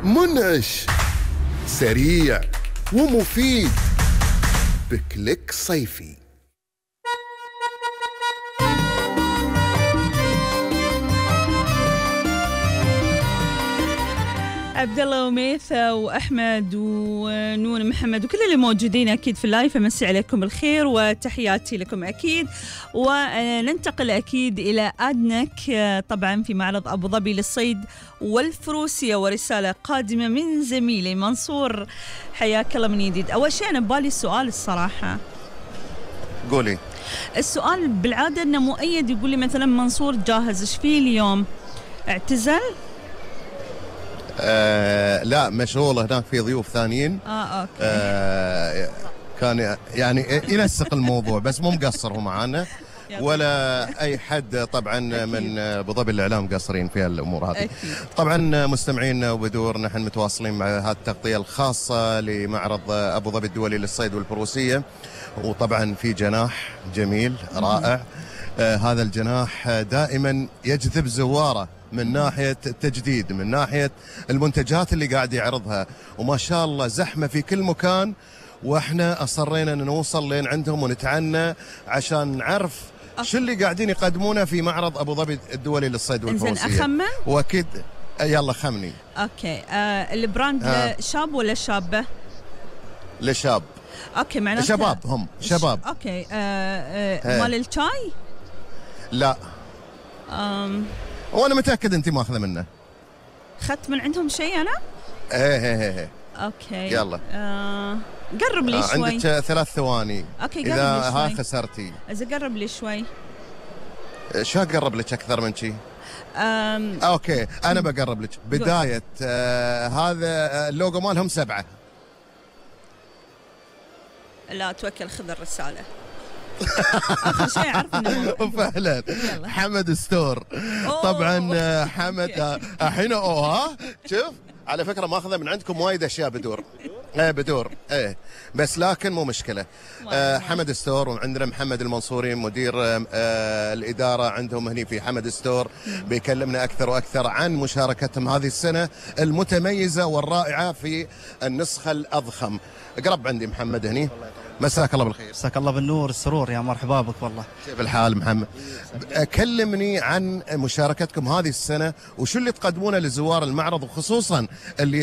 منعش، سريع ومفيد، بكليك صيفي. عبد الله وميثة وأحمد ونون محمد وكل اللي موجودين أكيد في اللايف، أمسي عليكم بالخير وتحياتي لكم أكيد. وننتقل أكيد إلى أدنك طبعا في معرض أبو ظبي للصيد والفروسية، ورسالة قادمة من زميلي منصور، حياك الله من جديد. أول شيء أنا ببالي السؤال الصراحة. قولي. السؤال بالعادة أنه مؤيد يقول لي مثلا منصور جاهز، إيش فيه اليوم؟ اعتزل؟ لا، مشغول هناك في ضيوف ثانيين. أوكي. كان يعني ينسق الموضوع، بس مو مقصر هو معانا ولا أي حد طبعا من أبو ظبي الإعلام قصرين في الأمور هذه. طبعا مستمعين وبدور، نحن متواصلين مع هذه التغطية الخاصة لمعرض أبو ظبي الدولي للصيد والفروسية، وطبعا في جناح جميل رائع. هذا الجناح دائما يجذب زواره من ناحية التجديد، من ناحية المنتجات اللي قاعد يعرضها، وما شاء الله زحمة في كل مكان، واحنا أصرينا أن نوصل لين عندهم ونتعنى عشان نعرف شو اللي قاعدين يقدمونه في معرض أبو ظبي الدولي للصيد والفروسية. إنزين أخمن؟ وأكيد يلا خمني. أوكي. البراند شاب ولا شابة؟ لشاب. أوكي، معناته شباب، هم شباب. أوكي. مال الشاي؟ لا. وانا متاكد انت ماخذه منه. اخذت من عندهم شيء انا؟ ايه. اوكي. يلا قرب لي شوي. عندك 3 ثواني. اوكي، قرب اذا لي شوي. خسرتي. اذا قرب لي شوي. شو اقرب لك اكثر من شيء؟ اوكي، انا بقرب لك. بدايه هذا اللوجو مالهم 7. لا توكل، خذ الرساله. آخر شيء أعرف إنه فعلا حمد ستور. طبعا حمد الحين شوف على فكرة ماخذة من عندكم وايد أشياء بدور. بدور بس لكن مو مشكلة. حمد ستور، وعندنا محمد المنصوري مدير الإدارة عندهم هني في حمد ستور، بيكلمنا أكثر وأكثر عن مشاركتهم هذه السنة المتميزة والرائعة في النسخة الأضخم. قرب عندي محمد هني. مساك الله بالخير. مساك الله بالنور السرور، يا مرحبا بك والله. كيف الحال محمد؟ كلمني عن مشاركتكم هذه السنة وشو اللي تقدمونه لزوار المعرض، وخصوصا اللي